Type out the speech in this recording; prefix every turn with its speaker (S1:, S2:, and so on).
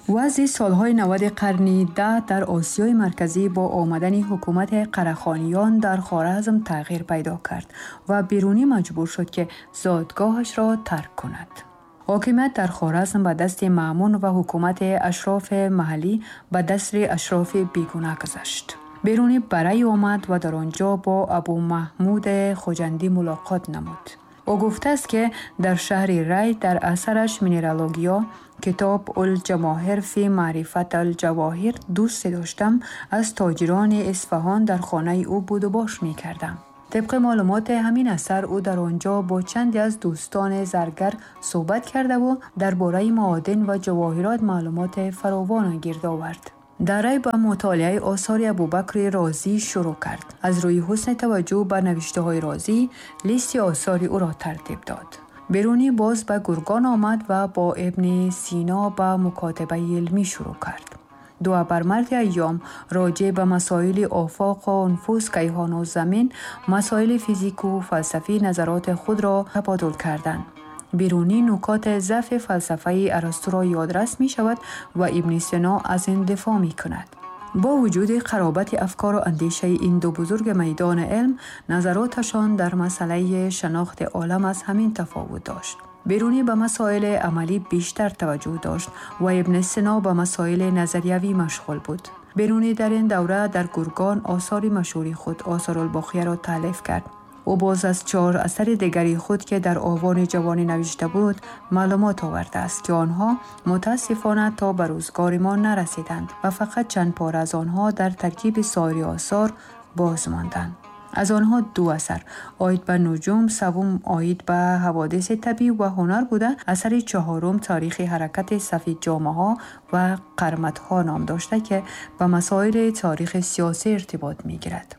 S1: Вазъи солҳои 90 қарни 10 дар Осиёи Марказӣ бо омадани ҳукумати Қарахониён дар Хоразм тағйир пайдо кард ва Берунӣ маҷбур шуд, ки зодгоҳашро тарк кунад. Ҳокимият дар Хоразм ба дасти Маъмун ва ҳукумати ашрофи маҳаллӣ ба дасти ашрофи бегуна гузашт. Берунӣ ба Рай омад ва дар он ҷо бо Абумаҳмуд Хуҷандӣ мулоқот намуд. Ӯ гуфтааст, ки дар шаҳри Рай дар асараш «Минералогия», китоб «Ул-ҷамоҳир фи маърифат ал-ҷавоҳир» дӯсте доштам, аз тоҷирони Исфаҳон, дар хонаи ӯ будубош мекардам. Тибқи маълумоти ҳамин асар, ӯ дар он ҷо бо чанде аз дӯстони заргар суҳбат кардаву дар бораи маодин ва ҷавоҳирот маълумоти фаровон гирд овард. Дар Рай ба мутолиаи осори Абубакри Розӣ шурӯъ кард. Аз рӯи ҳусни таваҷҷӯҳ ба навиштаҳои Розӣ листи осори ӯро тартиб дод. Берунӣ боз ба Гургон омад ва бо Ибни Сино ба мукотибаи илмӣ шурӯъ кард. Ду абармарди айём роҷеъ ба масоили офоқу нуфуз, кайҳону замин, масоили физику фалсафӣ назароти худро табодул карданд. Берунӣ нукоти заъфи фалсафаи Арастуро ёдрас мешавад ва Ибни Сино аз ин дифоъ мекунад. Бо вуҷуди қаробати афкору андешаи ин ду бузурги майдони илм, назароташон дар масъалаи шинохти олам аз ҳамин тафовут дошт. Берунӣ ба масоили амалӣ бештар таваҷҷӯҳ дошт ва Ибни Сино ба масоили назариявӣ машғул буд. Берунӣ дар ин давра дар Гургон осори машҳури худ, «Осорулбоқияро» таълиф кард. Ӯ боз аз чор асари дигари худ, ки дар овони ҷавонӣ навишта буд, маълумот овардааст, ки онҳо мутаассифона то ба рӯзгори мо нарасиданд ва фақат чанд пора аз онҳо дар таркиби соири осор боз монданд. Аз онҳо ду асар оид ба нуҷум, севум оид ба ҳаводиси табиӣ ва ҳунар буда, асари чаҳорум «Таърихи ҳаракати сафедҷомаҳо ва қарматҳо» ном дошта, ки ба масоили таърихи сиёсӣ иртибот мегирад.